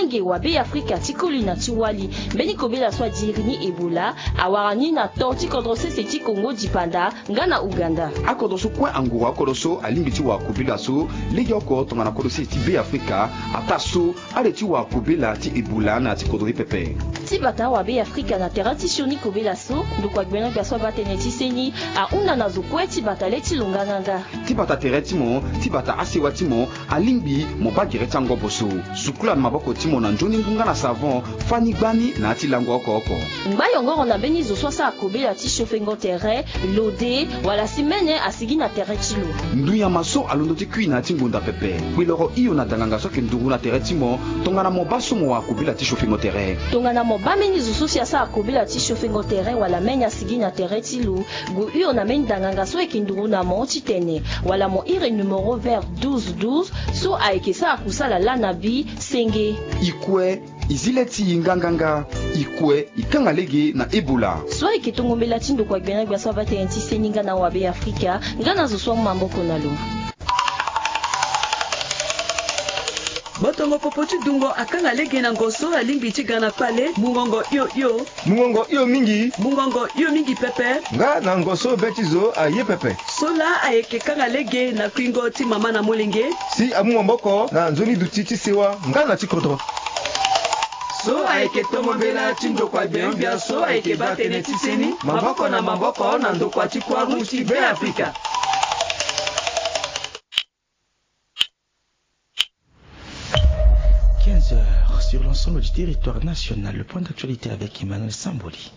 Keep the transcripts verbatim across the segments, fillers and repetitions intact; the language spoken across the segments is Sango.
Nge wa Be Afrika ti koli na ti wali. Mbeni kobela so adiri ni Ebola awara ni na to ti kodro sese ti Kongo dipanda nga na Ouganda. Akodro so kue anguru akodro so alingbi ti wara kobela so legeoko tongana kodro sese ti Be Afrika, ataa so ale ti wara kobela ti Ebola na ya ti kodro ni pepe. Ti bata wa Be Afrika na tere ti sioni kobela so, ndokua gbene gbia so abaa tënë ti seni ahunda na zo kue ti bata le ti lo nganganga. Ti bata tere ti mo, ti bata asewa ti mo, alingbi mo baa gere ti angobo so. Sukula na maboko ti mo na nzoni ngu nga na savon, fani gbani na ya ti lango oko oko. Ngba yongoro na mbeni zo so asara kobela ti siofengo tere, lode, wala si mene asigi na tere ti lo. Ndu nyama so alondo ti kui na ya ti ngonda pepe. Kpeloro hio na danganga so ayeke nduru na tere ti mo, tongana mo baa so mo wara kobela ti siofengo tere. Tongana mo baa mbeni zo so si asara kobela ti siofengo tere wala mene asigi na tere ti lo, gue hio na mbeni danganga so ayeke nduru na mo titene, wala mo iri numero vert douze douze so ayeke sara kusala laa na bi senge. I kue, i zi le ti i nganganga. I kue, i kanga lege na Ebola. So ayeke tongo mbela ti ndokua gbene gbia so abaa tënë ti seni nga na wa Be Afrika, nga na zo so amu maboko na lo. Botongo popo ti dungo akanga lege na ngo so alingbi ti ga na kpale, mungongo hio hio. Mungongo hio mingi. Mungongo hio mingi pepe. Nga na ngo so be ti zo aye pepe. So laa ayeke kanga lege na kuingo ti mama na molenge. Si amu maboko na nzoni duti ti sewa nga na ti kodro. So ayeke tongo mbela ti ndokua gbene gbia so ayeke baa tënë ti seni, maboko na maboko na ndokua ti Croix Rouge ti Be Afrika. Quinze heures sur l'ensemble du territoire national. Le point d'actualité avec Emmanuel Samboli.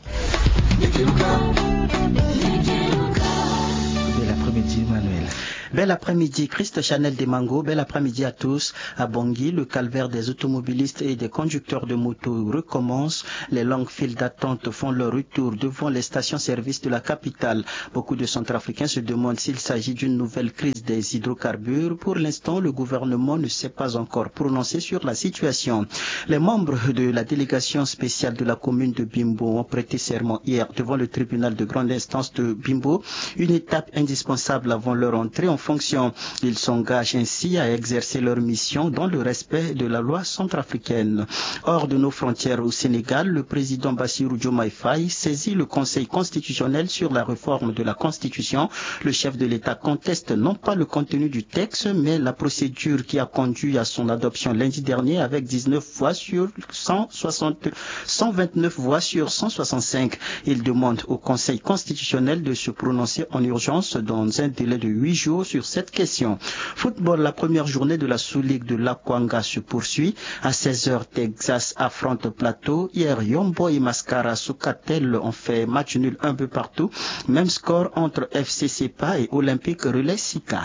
Bel après-midi, Emmanuel. Bel après-midi, Christ Chanel Demango. Bel après-midi à tous. À Bangui, le calvaire des automobilistes et des conducteurs de moto recommence. Les longues files d'attente font leur retour devant les stations-service de la capitale. Beaucoup de Centrafricains se demandent s'il s'agit d'une nouvelle crise des hydrocarbures. Pour l'instant, le gouvernement ne s'est pas encore prononcé sur la situation. Les membres de la délégation spéciale de la commune de Bimbo ont prêté serment hier devant le tribunal de grande instance de Bimbo, une étape indispensable avant leur entrée en fonction. Ils s'engagent ainsi à exercer leur mission dans le respect de la loi centrafricaine. Hors de nos frontières au Sénégal, le président Bassirou Diomaye Faye saisit le Conseil constitutionnel sur la réforme de la Constitution. Le chef de l'État conteste non pas le contenu du texte, mais la procédure qui a conduit à son adoption lundi dernier avec dix-neuf voix sur cent soixante, cent vingt-neuf voix sur cent soixante-cinq. Il demande au Conseil constitutionnel de se prononcer en urgence dans un délai de huit jours sur cette question. Football, la première journée de la Sous-Ligue de l'Akwanga se poursuit. À seize heures, Texas affronte Plateau. Hier, Yombo et Mascara Sukatel ont fait match nul un peu partout. Même score entre F C Sepa et Olympique Relais Sika.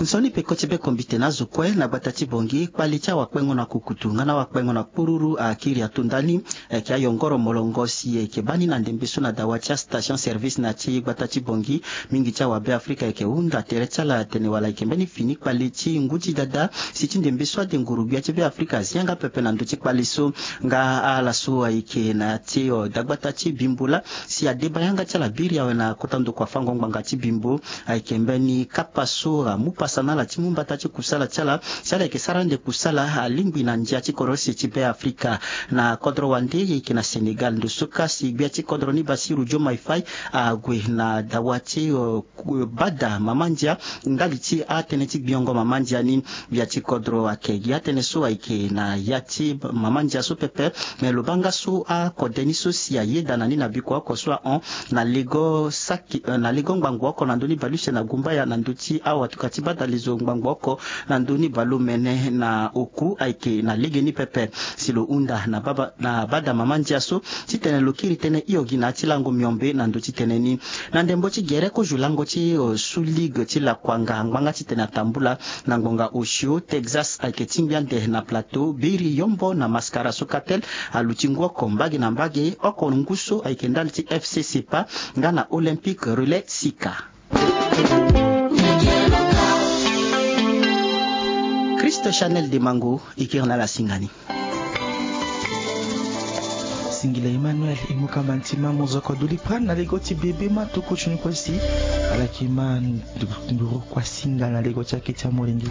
Nzoni peko ti be kombite na azo kue na gbata ti Bongi, kpali ti awakpengo na kukutu nga na awakpengo na kpururu akiri ato ndani. Ayeke ayongoro molongo si ayeke baa ni na ndembe so na dawa ti astation service na ti gbata ti Bongi. Mingi ti awabe Afrika ayeke hunda tere ti ala atene wala ayeke mbeni fini kpali ti ngu ti dada si ti ndembe so ade nguru gbia ti be Afrika azi yanga pepe na ndö ti kpali so. Nga ala so ayeke na ya ti dagbata ti Bimbo laa si adeba yanga ti ala biri awe na kota ndokua fango ngbanga ti Bimbo. Ayeke mbeni kapa so amu pasa na ala ti mu mbata ti kusala ti ala si ala yeke sara ande kusala alingbi na ndia ti kodro sese ti be Afrika. Na kodro wande e yeke na Sénégal ndo so ka si gbia ti kodro ni Bassirou Diomaye Faye ague na dawa ti bada mama ndia ndali ti atënë ti gbiongo mama ndia ni. Gbia ti kodro ayeke gi atënë so ayeke na ya ti mama ndia so pepe. Me lo baa nga so akode ni so si ayeda na ni na bikua oko so ahon na lego saki na lego ngbangbo oko na ndö ni baleuse na gumbaya na ndö ti awatuka ti bada lezo ngbangbo oko na ndö ni baleomene na oku ayeke na legeni pepe. Si lo hunda na baba na bada mama ndia so titene lo kiri tënë hio gi na ya ti lango miombe na ndö ti tënë ni. Na ndembo ti gere kozo lango ti sous ligue ti lakuanga ngbanga titene atambula na ngbonga osio Texas ayeke tingbi ande na Plateau biri Yombo na Mascara Sokatel aluti ngu oko mbage na mbage oko ngu so ayeke ndali ti FC Sepa nga na Olympique Relais Sika. Christ Chanel Demango e kiri na ala singa ni. Singila Emmanuel, e mu kamba ntima mozoko duli pran na lego ti bebe ma tuku ti ni kue si. Ala yeke ma nduru kua singa na lego ti akete amolenge.